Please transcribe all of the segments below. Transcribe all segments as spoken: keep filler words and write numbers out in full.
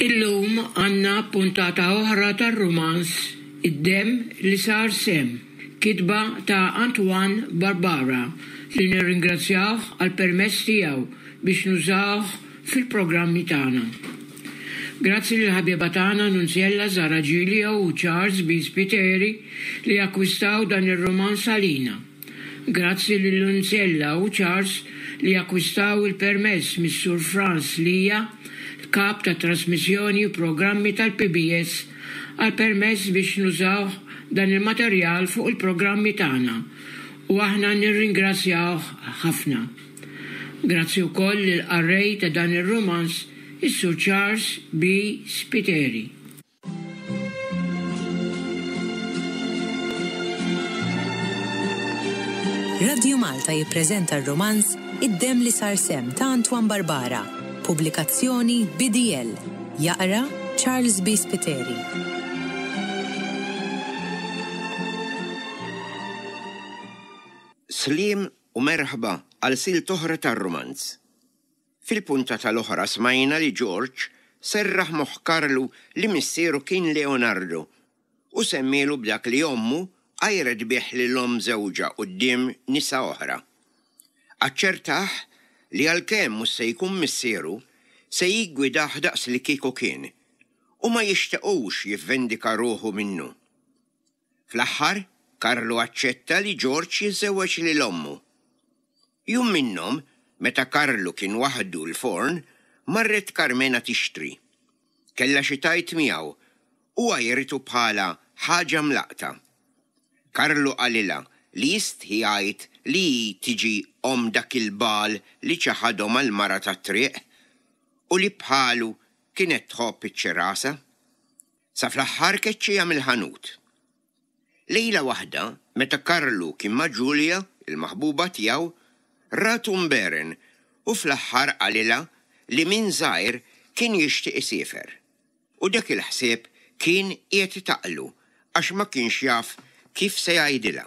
Illum għandna puntata oħra tar-rumanz Id-Demm li Sar Semm, kitba ta' Antoine Barbara li nirringrazzjawh għall-permess tiegħu biex nużawh fil-programmi tagħna. Grazzi lil ħabiba tagħna Nunziella Zara Giglio u Charles B. Spiteri li akkwistaw dan ir-rumanz għalina. Grazzi lil Nunziella u Charles li akkwistaw il-permess mis-Sur Franz Lija, kap ta' trasmissjoni u programmi tal-P B S, għal permess biex nużaw dan il-materjal fuq il-programmi tagħna u aħna nirringrazzjawh ħafna. Grazzi wkoll lill-qarrej ta' dan ir-rumanz, is-Sur Charles B. Spiteri. Radio Malta jippreżenta r-romanz Id-Demm li Sar Semm ta' Antoine Barbara, pubblikazzjoni B D L. Jaqra Charles B. Spiteri. Sliem u merħba għal silt oħra tar-romanz. Fil-punta tal-oħra smajna li George serraħ moħħ Karlu li missieru kien Leonardo u semmielu b'dak li ommu għajret bih lil omm żewġha quddiem nisa oħra. Aċċertah li għalkemm mhux se jkun missieru, se jiggwidah daqs li kieku kien u ma jixtiequx jivvendika ruħu minnu. Fl-aħħar, Karlu aċċetta li George jiżżewweġ lil ommu. Jum minnhom, meta Karlu kien waħdu l-forn, marret Carmena tixtri. Kella xi tgħid miegħu u għajritu bħala ħaġa mlaqta. Karlu qalilha li jistħi jgħid li hi tiġi om dak il-bal li ċaħadhom għal-mara tat-triq u li bħalu kienet tħobb iċ-ċirasa. Sa fl-aħħar keċċiha mill-ħanut. Lejla waħda, meta Karlu kien ma' Ġulja, il-maħbuba tiegħu, ratu mberen u fl-aħħar qalilha li minn żgħir kien jixtieq isiefer. U dak il-ħsieb kien qiegħed itaqlu għax ma kienx jaf kif se jgħidilha.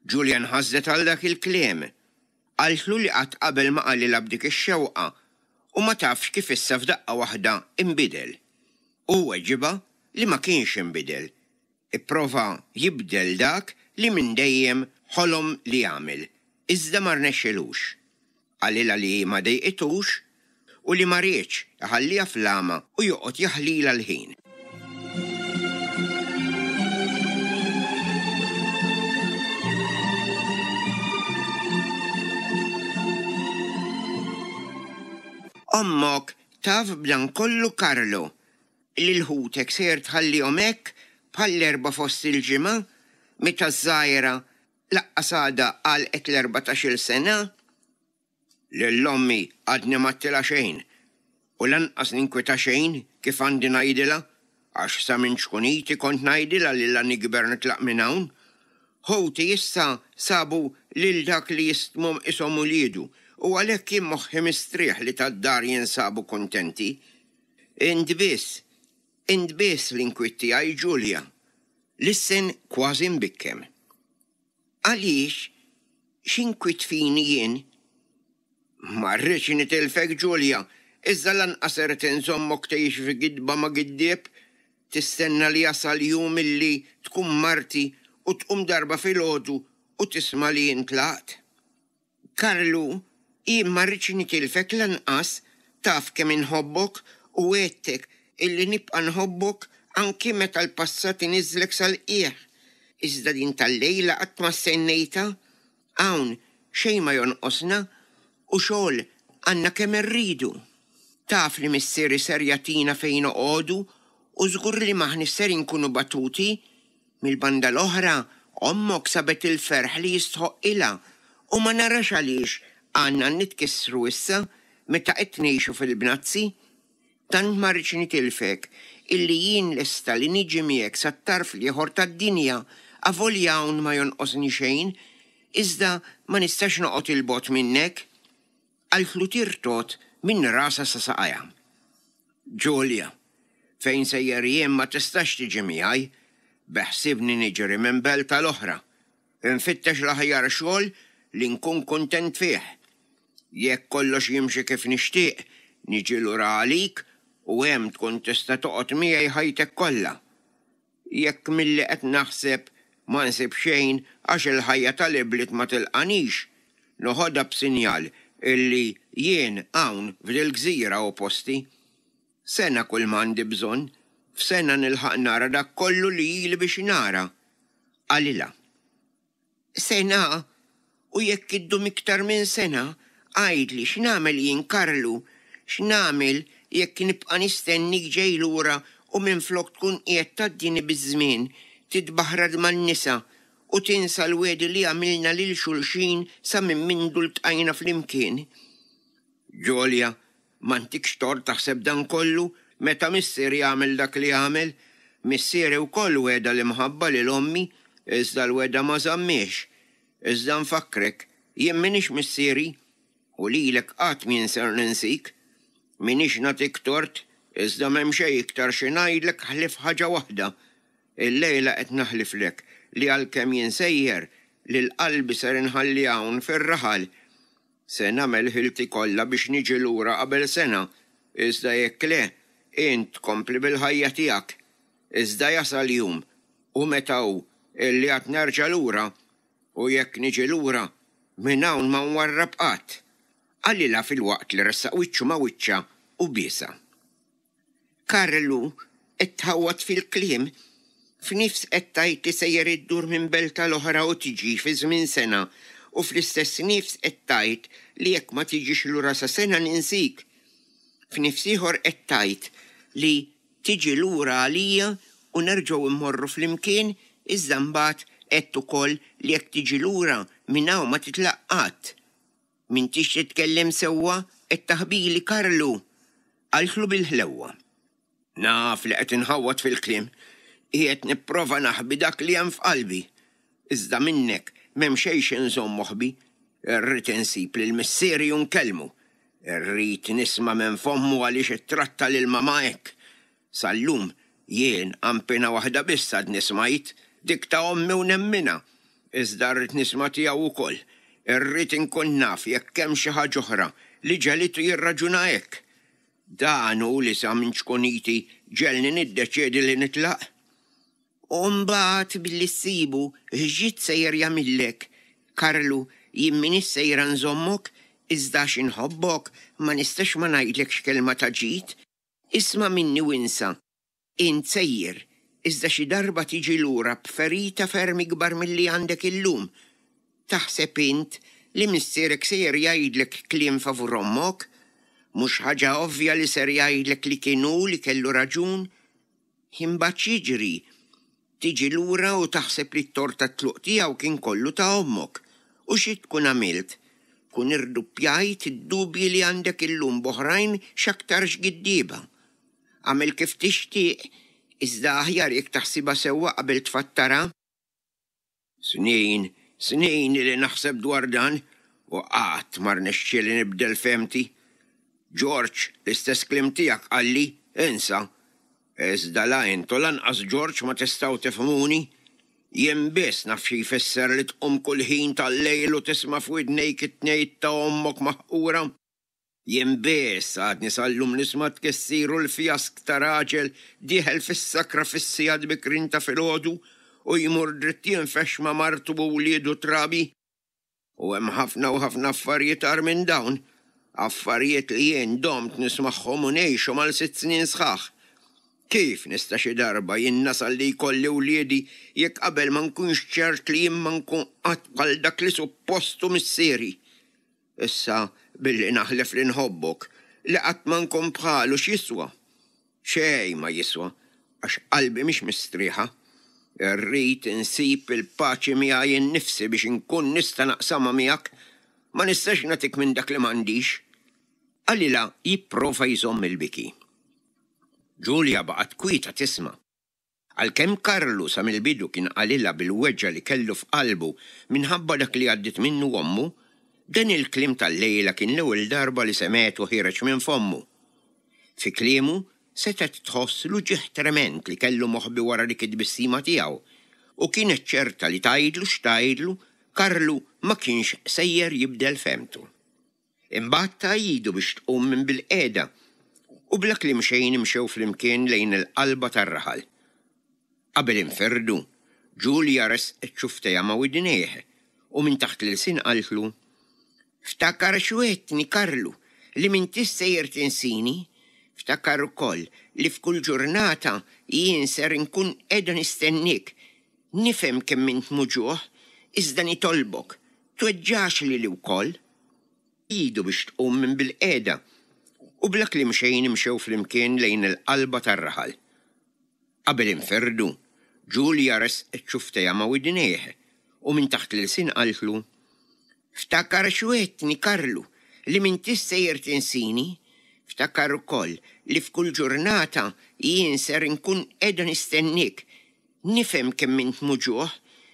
Ġulja nħasdet għal dak il-kliem. Qaltlu li qatt qabel ma qalilha b'dik ix-xewqa u ma tafx kif issa f'daqqa waħda imbidel. U weġibha li ma kienx imbidel. Ipprova jibdel dak li minn dejjem ħolom li jagħmel, iżda ma rnexxilux. Qalilha li ma dejqitux u li ma riedx iħalliha fl-għama u joqgħod jaħlilha l-ħin. Ommok taf b'dan kollu, Karlo, li l-ħutek ser tħallihom hekk bħall-erba' fost il-ġimgħa meta ż-żgħira lanqas għadha għalqet l-erbatax-il sena? Lil ommi għadni m'għedtilha xejn u lanqas ninkwita xejn kif għandi ngħidilha, għax sa minn ċkuniti kont ngħidilha li la nikber nitlaq minn hawn. Ħuti issa sabu lil dak li jistmhom qishom uliedu u għalhekk jien moħħi mistrieħ li tad-dar jinsabu kontenti. Int biss, int biss l-inkwiet tiegħi, Ġulja. Lissen kważi mbikkem. Għaliex, x'inkwiet fini jien? Ma rridx nitilfek, Ġulja, iżda lanqas irrid inżommok tgħix fi gidba ma' giddieb, tistenna li jasal jum illi tkun marti u tqum darba filgħodu u tisma' li intlaqt. Karlu, jien ma rridx nitilfek lanqas, taf kemm inħobbok u għedtek illi nibqa' nħobbok anki meta l-passat iniżlek sal-qiegħ. Iżda din tal-lejla qatt ma stennejta, hawn xejn ma jonqosna u xogħol għandna kemm irridu. Taf li missieri ser jagħtina fejn noqogħdu u żgur li m'aħniex ser inkunu batuti. Mill-banda l-oħra, ommok sabet il-ferħ li jistħoqqilha u ma narax għaliex għandna nitkissru issa meta qed ngħixu fil-bnazzi. Tant ma rridx nitilfek illi jien lesta li niġi miegħek sat-tarf l-ieħor tad-dinja, avolja hawn ma jonqosni xejn, iżda ma nistax noqgħod il-bogħod minnek. Qaltlu tirtot minn rasa sa saqajha. Ġulja, fejn sejjer jien ma tistax tiġi miegħi, beħsibni niġri minn belt tal-oħra. Infittex l-aħjar xogħol li nkun kuntent fih. Jekk kollox jimxi kif nixtieq, niġi lura għalik u hemm tkun tista' toqgħod miegħi ħajtek kollha. Jekk milli qed naħseb ma nsib xejn għax il-ħajja tal-ibliet ma tilqanix, noħodha b'sinjal illi jien hawn f'dil-gżira hu posti. Sena kull m'għandi bżonn, f'sena nilħaq nara dak kollu li ili biex nara. Qalilha. Sena? U jekk iddum iktar minn sena, għidli x'nagħmel jien Karlu? X'nagħmel jekk nibqa' nistennik ġej lura u minflok tkun qiegħed tgħaddini biż-żmien, titbaħrad man-nisa u tinsa l-wegħdi li għamilna lil xulxin sa minn mindu ltqajna flimkien? Ġolja, m'għandikx tort taħseb dan kollu meta missieri għamel dak li għamel. Missieri wkoll wegħda l-imħabba lil ommi, iżda l-wegħda ma żammhiex. Iżda nfakkrek, jien m'iniex missieri, u lilek qatt m'jien ser ninsik. M'iniex nagħtik tort, iżda m'hemm xejn iktar xi ngħidlek ħlief ħaġa waħda. Illejla qed naħliflek li għalkemm jien sejjer, lil qalbi ser inħalli hawn fir-raħal. Se nagħmel ħilti kollha biex niġi lura qabel sena, iżda jekk le, int kompli bil-ħajja tiegħek. Iżda jasal jum, u meta hu, illi għad nerġa' lura, u jekk niġi lura, minn hawn ma nwarrab qatt. Qalilha filwaqt li ressaq wiċċu ma' wiċċha u biesha. Karlu, qed tħawwad fil-kliem. F'nifs qed tgħid li sejjer iddur minn belt għal oħra u tiġi fi żmien sena, u fl-istess nifs qed tgħid li jekk ma tiġix lura sa sena ninsik. F'nifs ieħor qed tgħid li tiġi lura għalija u nerġgħu mmorru flimkien, iżda mbagħad għedt ukoll li jekk tiġi lura minn hawn ma titlaq qatt. M'intix titkellem sewwa, qed taħbili Karlu! Qaltlu bil-ħlewwa. Naf li qed inħawwad fil-kliem. Qiegħed nipprova naħbi dak li hemm f'qalbi. Iżda minnek m'hemm xejn xi nżomm moħbi. Irrid insib lil missieri u nkellmu. Irrid nisma' minn fommu għaliex ittratta lil mama hekk. Sal-lum jien qanpiena waħda biss għadni smajt, dik ta' ommi u nemminha. Iżda rrid nisma' tiegħu wkoll. Irrid inkun naf jekk hemm xi ħaġa oħra li ġegħlitu jirraġuna hekk. Dan hu li sa minn ċkuniti ġegħelni niddeċiedi li nitlaq. U mbagħad billi ssibu x'ġid sejjer jagħmillek? Karlu, jien m'iniex sejra nżommok, iżda għax inħobbok ma nistax ma ngħidlekx kelma ta' ġid. Isma' minni u insa. Int sejjer, iżda xi darba tiġi lura b'ferita ferm ikbar milli għandek illum. Taħseb int li missierek sejjer jgħidlek kliem favur ommok? Mhux ħaġa ovvja li ser jgħidlek li kien hu li kellu raġun? Imbagħad x'jiġri? Tiġi lura u taħseb li t-tort tat-tluq tiegħu kien kollu ta' ommok. U xi tkun għamilt? Tkun irduppjajt id-dubji li għandek illum b'oħrajn x'aktarx giddieba. Agħmel kif tixtieq, iżda aħjar jekk taħsibha sewwa qabel tfattarha. Snin, snin ili naħseb dwar dan u qatt ma rnexxieli nibdel fehmti. George, l-istess kliem tiegħek qalli, insa. Iżda la int u lanqas George ma tistgħu tifhmuni. Jien biss naf xi jfisser li tqum kull ħin tal-lejl u tisma' f'widnejk it-tnejt ta' ommok maħqura. Jien biss għadni sal-lum nisma' t-tkissir u l-fjask ta' raġel dieħel fis-sakra fis-sigħat bikrin ta' filgħodu u jmur dritt jinfexx ma' martu u wliedu trabi. U hemm ħafna u ħafna affarijiet agħar minn dawn, affarijiet li jien domt nismagħhom u ngħixhom għal sitt snin sħaħ. Kif nista' xi darba jien nasal li jkolli wliedi jekk qabel ma nkunx ċert li jien ma nkun qatt bħal dak li suppost hu missieri? Issa billi naħlef li nħobbok, li qatt ma nkun bħalu x'jiswa? Xejn ma jiswa, għax qalbi mhix mistrieħa. Irrid insib il-paċi miegħi nnifsi biex inkun nista' naqsamha miegħek. Ma nistax nagħtik minn dak li m'għandix. Qalilha jipprova jżomm il-biki. Julia baqgħet kwieta tisma'. Għalkemm Karlu sa mill-bidu kien qalilha bil-weġgħa li kellu f'qalbu minħabba dak li għaddiet minnu ommu, dan il-kliem tal-lejla kien l-ewwel darba li semgħetu ħiereġ minn fommu. Fi kliemu setgħet tħoss l-uġigħ tremend li kellu moħbi wara dik it-tbissima tiegħu, u kienet ċerta li tgħidlu x'tgħidlu, Karlu ma kienx sejjer jibdel fehmtu. Imbagħad ta idu biex tqum minn bilqiegħda U bla kliem xejn imxew flimkien lejn il-qalba tar-raħal. Qabel inferdu, Ġulja resqet xufftejha ma' widnejh u minn taħt l-ilsien qaltlu, Ftakar x'wegħedtni, Karlu, li m'intix sejjer tinsini. Ftakar ukoll li f'kull ġurnata jien ser inkun qiegħda nistenniek. Nifhem kemm int muġugħ, iżda nitolbok, tweġġax lili wkoll. Idu biex tqum minn bilqiegħda u bla kliem xejn imxew flimkien lejn il-qalba tar-raħal. Qabel inferdu, Ġulja resqet xufftejha ma' widnejh u minn taħt l-ilsien qaltlu, Ftakar x'wegħedtni, Karlu, li m'intix sejjer tinsini. Ftakar ukoll li f'kull ġurnata jien ser inkun qiegħda nistenniek. Nifhem kemm int muġugħ,